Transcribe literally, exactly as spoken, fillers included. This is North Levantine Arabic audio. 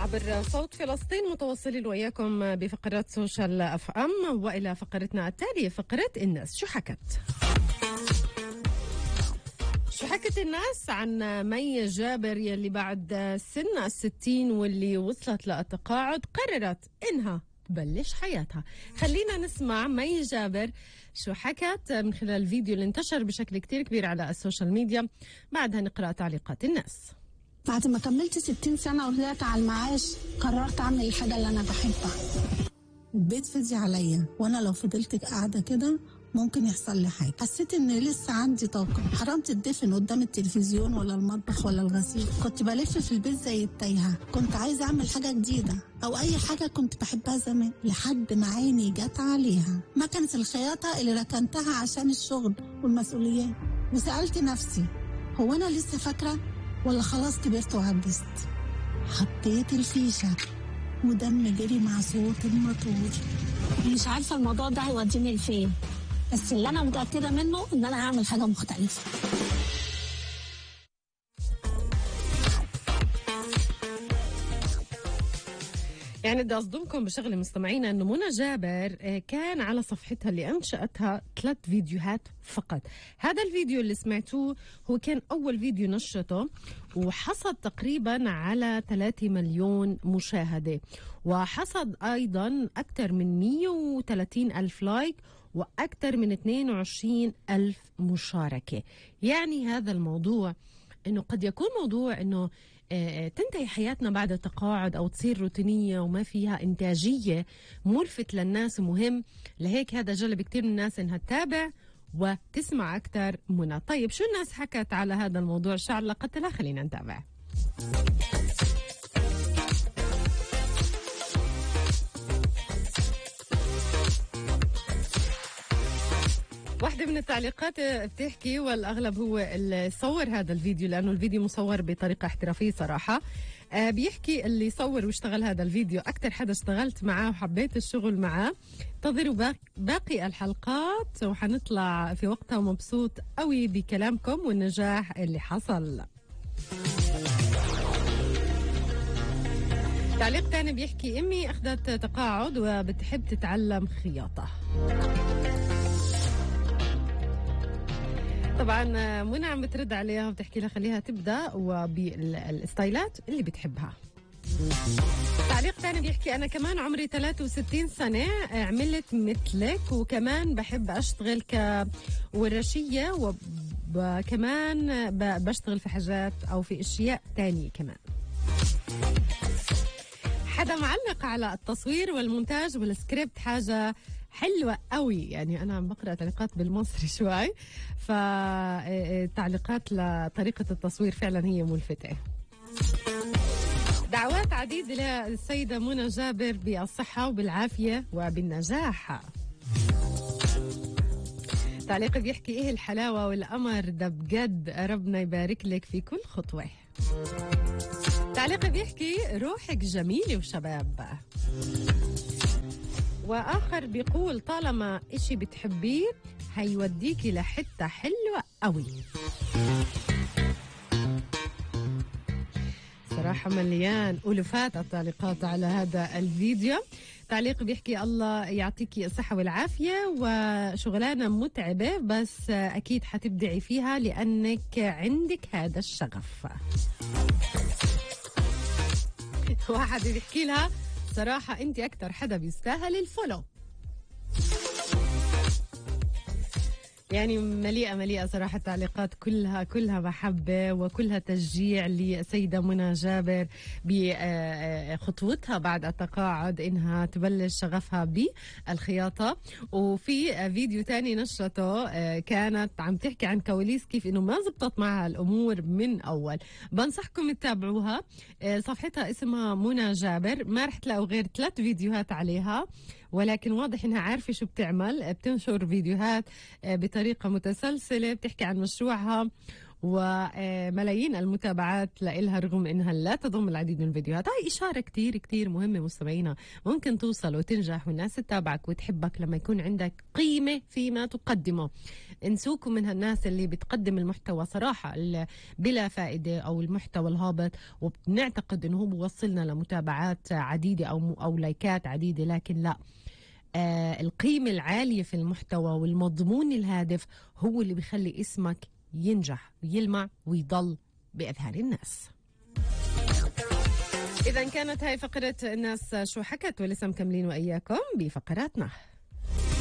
عبر صوت فلسطين متواصلين وياكم بفقرات سوشيال اف ام، والى فقرتنا التاليه فقره الناس شو حكت. شو حكت الناس عن مي جابر يلي بعد سن الستين واللي وصلت للتقاعد قررت انها تبلش حياتها. خلينا نسمع مي جابر شو حكت من خلال الفيديو اللي انتشر بشكل كتير كبير على السوشيال ميديا، بعدها نقرأ تعليقات الناس. بعد ما كملت ستين سنة وطلعت على المعاش قررت أعمل الحاجة اللي أنا بحبها. البيت فضي عليا وأنا لو فضلت قاعدة كده ممكن يحصل لي حاجة. حسيت إن لسه عندي طاقة، حرمت الدفن قدام التلفزيون ولا المطبخ ولا الغسيل. كنت بلف في البيت زي التايهة، كنت عايزة أعمل حاجة جديدة أو أي حاجة كنت بحبها زمان، لحد ما عيني جت عليها مكنة الخياطة اللي ركنتها عشان الشغل والمسؤوليات. وسألت نفسي هو أنا لسه فاكرة ولا خلاص كبرت وعجزت؟ حطيت الفيشة ودم جري مع صوت الموتور. مش عارفة الموضوع ده هيوديني لفين، بس اللي أنا متأكدة منه إن أنا هعمل حاجة مختلفة. يعني بدي أصدمكم بشغلة مستمعينا إنه منى جابر كان على صفحتها اللي أنشأتها ثلاث فيديوهات فقط. هذا الفيديو اللي سمعتوه هو كان أول فيديو نشرته وحصد تقريبا على ثلاثة مليون مشاهدة، وحصد أيضا أكثر من مية وثلاثين ألف لايك وأكثر من اثنين وعشرين ألف مشاركة. يعني هذا الموضوع إنه قد يكون موضوع إنه تنتهي حياتنا بعد التقاعد أو تصير روتينية وما فيها إنتاجية ملفت للناس مهم، لهيك هذا جلب كتير من الناس إنها تتابع وتسمع أكتر منى. طيب شو الناس حكت على هذا الموضوع؟ شو علاقتها؟ خلينا نتابع. واحدة من التعليقات بتحكي، والأغلب هو اللي صور هذا الفيديو لأنه الفيديو مصور بطريقة احترافية صراحة. آه بيحكي اللي صور واشتغل هذا الفيديو أكتر حدا اشتغلت معاه وحبيت الشغل معاه. انتظروا باقي الحلقات وحنطلع في وقتها مبسوط قوي بكلامكم والنجاح اللي حصل. تعليق تاني بيحكي أمي أخذت تقاعد وبتحب تتعلم خياطة. طبعا منى عم بترد عليها وبتحكي لها خليها تبدا وبالستايلات اللي بتحبها. تعليق ثاني بيحكي انا كمان عمري ثلاثة وستين سنة عملت مثلك وكمان بحب اشتغل كورشية وكمان بشتغل في حاجات او في اشياء تانية كمان. حدا معلق على التصوير والمونتاج والسكريبت حاجة حلوة قوي. يعني أنا عم بقرأ تعليقات بالمصري شوي، فتعليقات لطريقة التصوير فعلا هي ملفتة. دعوات عديدة للسيدة منى جابر بالصحة وبالعافية وبالنجاح. تعليق بيحكي إيه الحلاوة والأمر ده بجد، ربنا يبارك لك في كل خطوة. تعليق بيحكي روحك جميلة وشباب. وآخر بيقول طالما إشي بتحبيه هيوديكي لحتة حلوة قوي. صراحة مليان ألوفات التعليقات على هذا الفيديو. تعليق بيحكي الله يعطيكي الصحة والعافية وشغلانة متعبة بس أكيد حتبدعي فيها لأنك عندك هذا الشغف. واحد بيحكي لها صراحة أنت أكتر حدا بيستاهل الفولو. يعني مليئة مليئة صراحة التعليقات كلها كلها محبة وكلها تشجيع لسيدة منى جابر بخطوتها بعد التقاعد إنها تبلش شغفها بالخياطة. وفي فيديو تاني نشرته كانت عم تحكي عن كواليس كيف إنه ما زبطت معها الأمور من أول. بنصحكم تتابعوها، صفحتها اسمها منى جابر، ما رح تلاقوا غير ثلاث فيديوهات عليها ولكن واضح انها عارفه شو بتعمل، بتنشر فيديوهات بطريقه متسلسله، بتحكي عن مشروعها وملايين المتابعات لإلها رغم إنها لا تضم العديد من الفيديوهات. هاي إشارة كتير كتير مهمة مستمعينا، ممكن توصل وتنجح والناس تتابعك وتحبك لما يكون عندك قيمة فيما تقدمه. انسوكم من هالناس اللي بتقدم المحتوى صراحة بلا فائدة أو المحتوى الهابط، وبنعتقد إنه هو بوصلنا لمتابعات عديدة أو أو لايكات عديدة، لكن لا، آه القيمة العالية في المحتوى والمضمون الهادف هو اللي بيخلي اسمك ينجح ويلمع ويضل بأذهان الناس. إذا كانت هاي فقرة الناس شو حكت، ولسه مكملين وإياكم بفقراتنا.